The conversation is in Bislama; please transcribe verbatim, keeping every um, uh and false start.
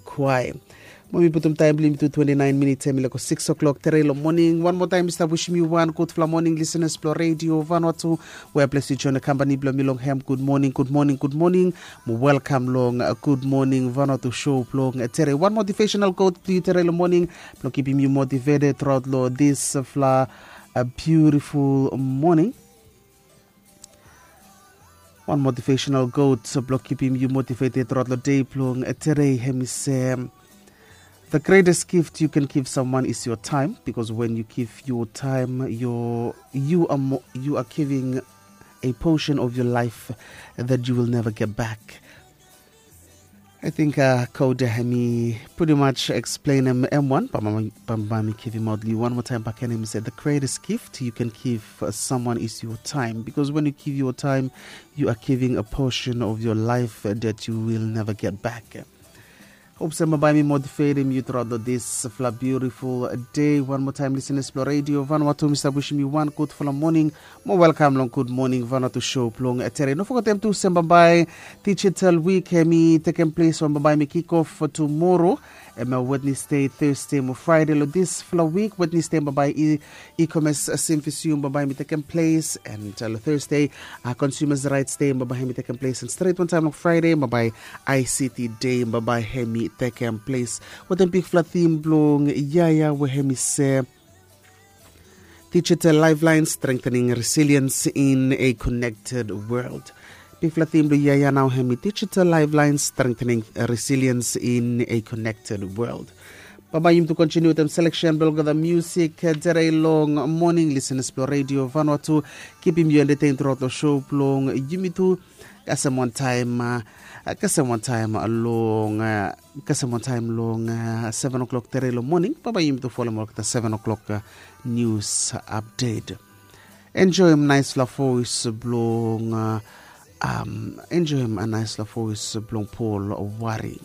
Kwai. Mo mi putum taem blong yumi tu twenty-nine minits, em i leko six o'clock tere long moning. Wan moa taem mi stap wisim yu wan gudfala moning, lisenas blong Redio Vanuatu, we ples yu join kampani blong mi long hem. Gud moning, gud moning, gud moning. Mo welkam long Gud Moning Vanuatu show blong tere. Wan motivational quote blong yu tere long moning blong kipim yu motivated throughout long disfala beautiful moning. Wan motivational quote blong kipim yu motivated throughout long dei blong tere, hem i se, the greatest gift you can give someone is your time, because when you give your time, your, you are mo- you are giving a portion of your life that you will never get back. I think uh, quote hem i pretty much explain em, em wan, bambae mi give him out li one more time back, and him said, the greatest gift you can give uh, someone is your time, because when you give your time, you are giving a portion of your life uh, that you will never get back. Hope se bambae mi motivatim yu throughout this fla beautiful day. One more time, listeners blong Radio Vanuatu, mi stap wisim yu wan gudfala moning. Mo welkam long Gud Moning Vanuatu show blong tere. No fogetem tu se bambae Digital Week hem i tekem ples, we bambae mi kick off for tomorrow. Em Wednesday, Thursday mo Friday long disfala wik. Wednesday bambae i e-commerce uh, simfisium bambae mi tekem ples, and uh, Thursday uh, consumers rights day bambae hem i tekem ples, and stret wantaem long Friday bambae I C T day bambae hem i tekem ples. Wetem bigfala theme blong yia ya we hem i se Digital Lifeline, Strengthening Resilience in a Connected World. Bigfala theme blong yia ya nao hem i Digital Lifeline, Strengthening Resilience in a Connected World. Bambae yumi tu kontiniu wetem selection blong olgeta music tere long moning, listeners blong Radio Vanuatu. Kipim yu entertain throughout long show blong yumi tu. Kasem wantaem, kasem wantaem long kasem wantaem long seven o'clock tere long moning. Bambae yumi tu folem olgeta seven o'clock news update. Enjoem naesfala voes blong enjoem naesfala voes blong Paul Wari.